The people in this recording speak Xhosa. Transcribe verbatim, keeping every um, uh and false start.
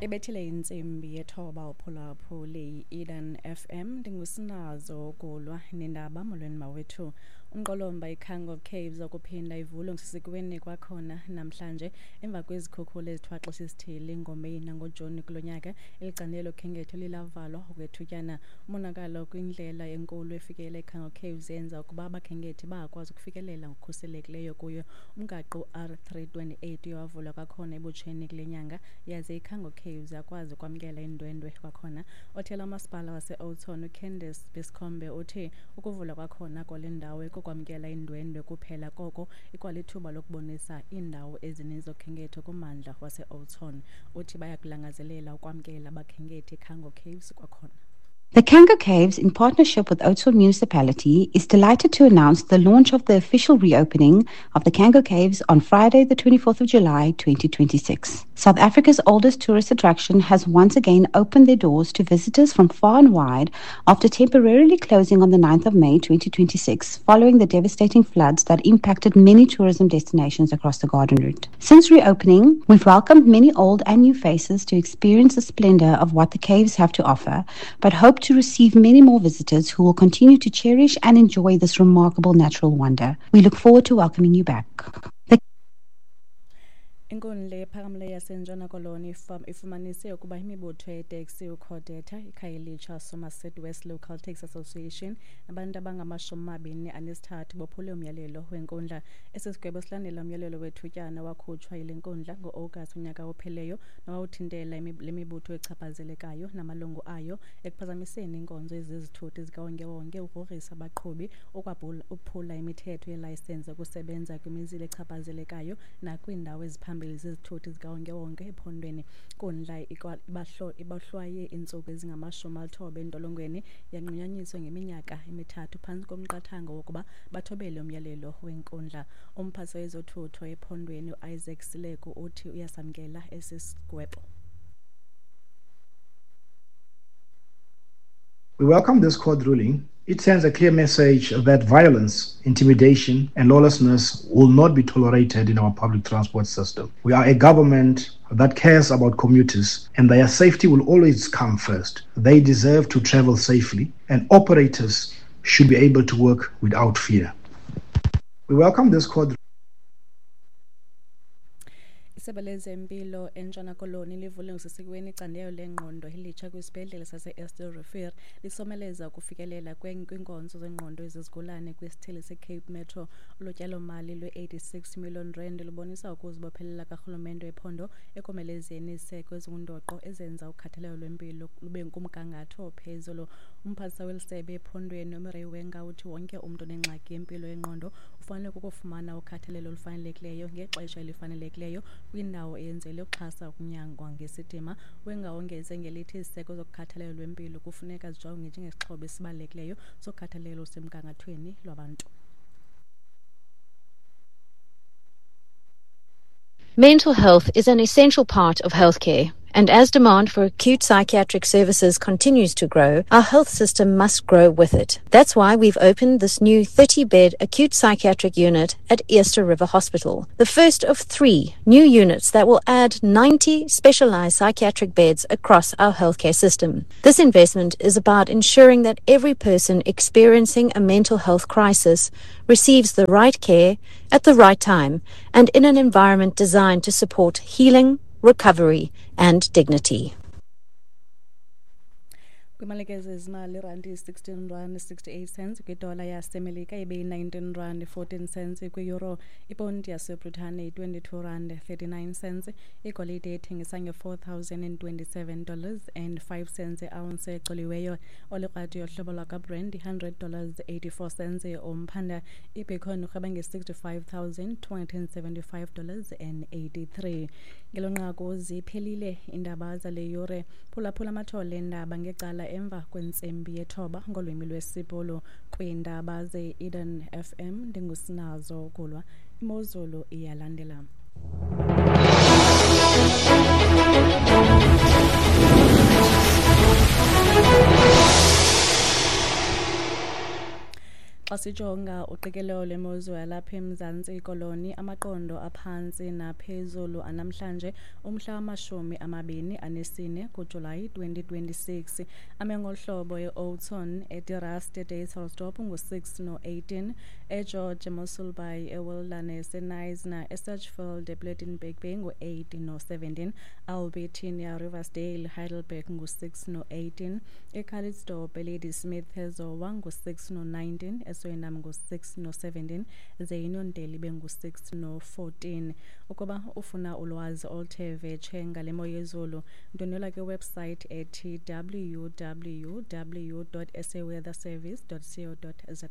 Ebethile intsimbi yethoba uphulaphuli Eden F M ndingusinazo ukulwa nendaba molweni mawethu. Umqolomba iCango Caves okuphinda ivulwe ngokusesikweni kwakhona namhlanje emva kwezikhukhula ezithwaxisa isithili ngoMeyi nangoJuni kulo nyaka. Eli candelo lokhenketho lilavalwa okwethutyana. Umonakalo kwindlela enkulu efikela eCango Caves yenza ukuba abakhenkethi bangakwazi ukufikelela ngokukhuselekileyo kuyo. Umgaqo R three twenty-eight uye wavulwa kwakhona ebutsheni kule nyanga yaze iCango Caves yakwazi ukwamkela iindwendwe kwakhona. Othela umasipala wase-Oudtshoorn uCandice Biscombe uthi ukuvulwa kwakhona kwale ndawo ikokwamkela iindwendwe kuphela, koko ikwalithuba lokubonisa iindawo ezininzi zokhenketho kummandla wase-Oudtshoorn. Uthi bayakulangazelela ukwamkela abakhenkethi eCango Caves kwakhona. The Cango Caves, in partnership with Oudtshoorn Municipality, is delighted to announce the launch of the official reopening of the Cango Caves on Friday, the twenty-fourth of July, twenty twenty-six. South Africa's oldest tourist attraction has once again opened their doors to visitors from far and wide after temporarily closing on the ninth of May, twenty twenty-six, following the devastating floods that impacted many tourism destinations across the Garden Route. Since reopening, we've welcomed many old and new faces to experience the splendor of what the caves have to offer, but hope to receive many more visitors who will continue to cherish and enjoy this remarkable natural wonder. We look forward to welcoming you back. The Inkundla ephakamileyo yaseNtshona Koloni ifumanise ukuba imibutho yeeteksi uCodeta, iKhayelitsha Somerset West Local Taxi Association nabantu abangamashumi amabini anesithathu bophule umyalelo wenkundla. Esi sigwebo silandela umyalelo wethutyana wakhutshwa yile nkundla ngo-August unyaka ophelileyo nowawuthintela le mibutho echaphazelekayo namalungu ayo ekuphazamiseni iinkonzo ezizithuthi zikawonkewonke, ukugrogrisa abaqhubi, ukwaphula imithetho yelayisensi yokusebenza kwimizila echaphazelekayo nakwiindawo eziphambili zezithuthi zikawonkewonke ephondweni. Inkundla ibahlwaye iintsuku ezingamashumi alithoba entolongweni yanqunyanyiswa ngeminyaka emithathu phantsi komqathango wokuba bathobele umyalelo wenkundla. Umphathiswa wezothutho ephondweni uIsaac Sileko uthi uyasamkela esi sigwebo. We welcome this court ruling. It sends a clear message that violence, intimidation, and lawlessness will not be tolerated in our public transport system. We are a government that cares about commuters, and their safety will always come first. They deserve to travel safely, and operators should be able to work without fear. We welcome this court. Isebe lezempilo eNtshona Koloni livule ngokusesikweni icandelo lengqondo elitsha kwisibhedlele sase-Eerste Rivier, lisomeleza ukufikelela kwiinkonzo zengqondo ezizigulane kwisithili seCape Metro. Olu tyalomali lwe-eighty-six million rand lubonisa ukuzibophelela karhulumente wephondo ekomelezeni iziseko ezingundoqo ezenza ukhathalelo lwempilo lube kumgangatho ophezulu. Umphathiswa weli sebe ephondweni uMurray Wenga uthi wonke umntu onengxaki yempilo yengqondo ufanele kukufumana ukhathalelo olufanelekileyo ngexesha elifanelekileyo kwindawo eyenzelwe ukuxhasa ukunyangwa ngesidima. Wenga wongeze ngelithi iziseko zokukhathalelo lwempilo kufuneka zijongwe njengesixhobo esibalulekileyo sokhathalelo olusemgangathweni lwabantu. Mental health is an essential part of healthcare, and as demand for acute psychiatric services continues to grow, our health system must grow with it. That's why we've opened this new thirty-bed acute psychiatric unit at Eerste River Hospital, the first of three new units that will add ninety specialized psychiatric beds across our healthcare system. This investment is about ensuring that every person experiencing a mental health crisis receives the right care at the right time and in an environment designed to support healing, recovery and dignity. Kwimalike zezimali, irandi iyi-sixteen rand sixty-eight cents kwidola yaseMelika, ibe yi-nineteen rand fourteen cents kwi-euro, iponti yaseBritane yi-twenty-two rand thirty-nine cents, igolide ethengisa nge-four thousand and twenty-seven dollars and five cents i-ounce ecoliweyo, olikrati yohlobo lwakwaBrent i-hundred dollars eighty-four cents umphanda, ibitcoin irhweba nge-sixty-five thousand two hundred and seventy-five dollars and eighty-three. Ngelo nqaku ziphelile iindaba zale yure. Phulaphula amathole eendaba ngecala emva kwentsimbi yethoba ngolwimi lwesiBhulu. Kwiindaba ze-Eden F M ndingusinazo Kulwa. Imozulu iyalandela. Xa Xa sijonga uqikelelo lwemozulu yalapha eMzantsi Koloni, amaqondo aphantsi naphezulu anamhlanje umhla wamashumi amabini anesine kuJulayi twenty twenty-six ame ngolu hlobo: e-Oudtshoorn, eDe Rust, eDysselsdorp ngu-six no-eighteen, eGeorge, eMossel Bay, eWilderness, eKnysna, eSedgefield, ePlettenberg Bay ngu-eight no-seventeen, Albertinia, Riversdale, Heidelberg ngu-six no-eighteen, eCalitzdorp, eLadysmith, eZowa ngu-six no-nineteen, eSuriname ngu-six no-seventeen, ze iNondeli ibe ngu-six no-fourteen. Ukuba ufuna ulwazi oluthe vetshe ngale mo yezulu, ndwendwela kwiwebsite ethi W W W dot saweatherservice dot co dot za.